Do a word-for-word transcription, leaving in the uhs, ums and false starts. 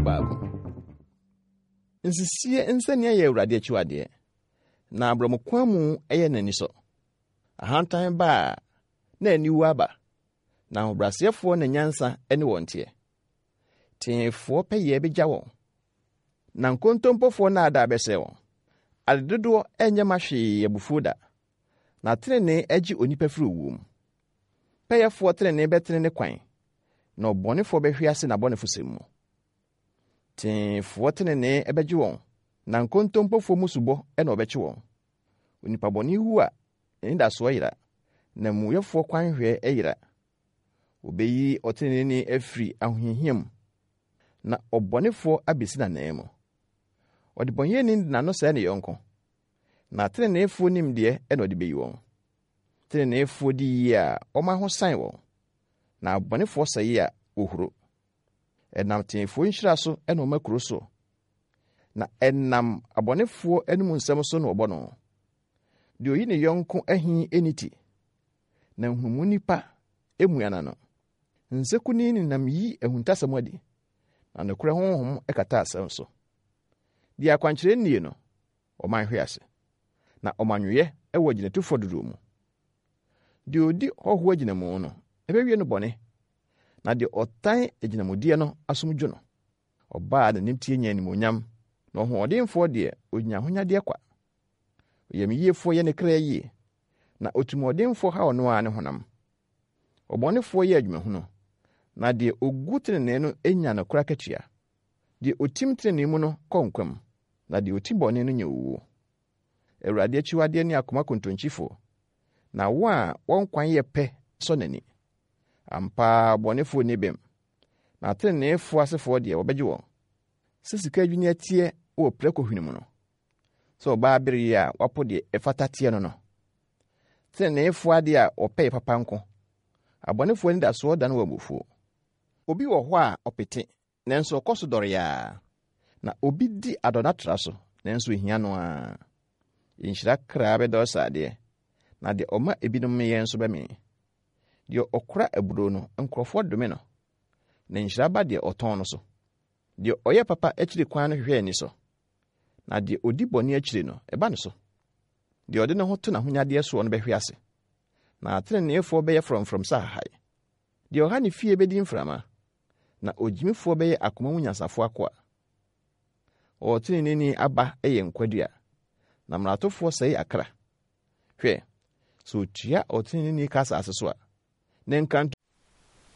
dubaako. Nsisie nsania yɛ Awurade akyiwadeɛ, na aborɔmokwan mu yɛ n'anisɔ. Ahantan ba a, na aniwu aba, na ahobrɛaseɛfoɔ na nyansa ne wɔn teɛ. Teefoɔ pɛyɛ bɛgya wɔn, na nkontompofoɔ nnaadaa bɛsɛe wɔn. Adedodoɔ nyɛ ma hwee abufuo da, na tenenee agye onipa firi owuo mu. Pɛyɛfoɔ tenenee bɛtene ne kwan, na ɔbɔnefoɔ bɛhwe ase n'abɔnefosɛm mu. Teefoɔ tenenee bɛgye wɔn, na nkontompofoɔ mmusubɔ na wɔbɛkye wɔn. Onipa bɔne wu a, n'anidasoɔ yera, na amumuyɛfoɔ kwanhwɛ yera. Wɔbɛyi ɔteneneeni afiri ahohiahia mu, na ɔbɔnefoɔ abɛsi n'anan mu. Ɔdebɔneyɛni de n'ano sɛe ne yɔnko, na teneneefoɔ nimdeɛ na ɔde beyi wɔn. Teneneefoɔ di yie a, wɔma ho san wɔn, na abɔnefoɔ sɛe a, wɔhuro. Ɛnam teefoɔ nhyira so na ɔma kuro so, na ɛnam abɔnefoɔ anom nsɛm so na wɔbɔ no. Deɛ oyi ne yɔnko ahi nni ti, na nhunumu nipa emua n'ano. Nsekuni nenam yi ahuntasɛm adi, na nokorɛ honhom kata asɛm so. Deɛ akwankyerɛ nnie no, ɔman hwe ase, na ɔmanweyɛ wɔ agyinatufoɔ dodoɔ mu. Deɛ odi hɔhoɔ agyinamu no, ɛbɛwie no bɔne, na deɛ ɔtan agyinamudeɛ no asom dwo no. Ɔbaa a n'anim teɛ nya animuonyam, na ɔhoɔdenfoɔ deɛ onya ahonyadeɛ kwa. Oyamyiefoɔ yɛ ne kra yie, na otirimɔdenfoɔ haw ɔno ara ne honam. Ɔbɔnefoɔ yɛ adwumahunu, na deɛ ogu tenenee no nya nokorɛ akatua. Deɛ otim tenenee mu no kɔ nkwa mu, na deɛ oti bɔne no nya owuo. Awurade akyiwadeɛ ne akoma kontonkyifoɔ, na wɔn a wɔn kwan yɛ pɛ sɔ n'ani. Ampa ara ɔbɔnefoɔ nni bem, na ateneneefoɔ asefoɔ deɛ wɔbɛgye wɔn. Sɛ sika adwinni teɛ wɔ prako hwene mu no, sɛ ɔbaa bere yi a wapo deɛ ɛfata teɛ no no. Teneneefoɔ adeɛ a wɔpɛ yɛ papa nko, abɔnefoɔ anidasoɔ dane wɔ abufuo. Obi wɔ hɔ a ɔpete, nanso ɔkɔ so dɔre a, na obi di adɔnatra so, nanso ehia no ara. Nhyira kra bɛdɔre sradeɛ, na deɛ ɔma ebinom yɛ nso bɛmee. Deɛ ɔkora aburoo no, nkurɔfoɔ dome no, na nhyira ba deɛ ɔtɔn no so. Deɛ ɔyɛ papa akyiri kwan no hwehwɛ ani so, na deɛ odi bɔne akyiri no, ɛba ne so. Deɛ ɔde ne ho to n'ahonyadeɛ soɔ no bɛhwe ase, na ateneneefoɔ bɛyɛ frɔmfrɔm sɛ ahahan. Deɛ ɔha ne fie bɛdi mframa, na ogyimifoɔ bɛyɛ akoma mu nyansafoɔ akoa. Ɔteneneeni aba yɛ nkwadua, na mmaratofoɔ sɛe akra. Hwɛ, sɛ otua ɔteneneeni ka asase so a, ne nkranto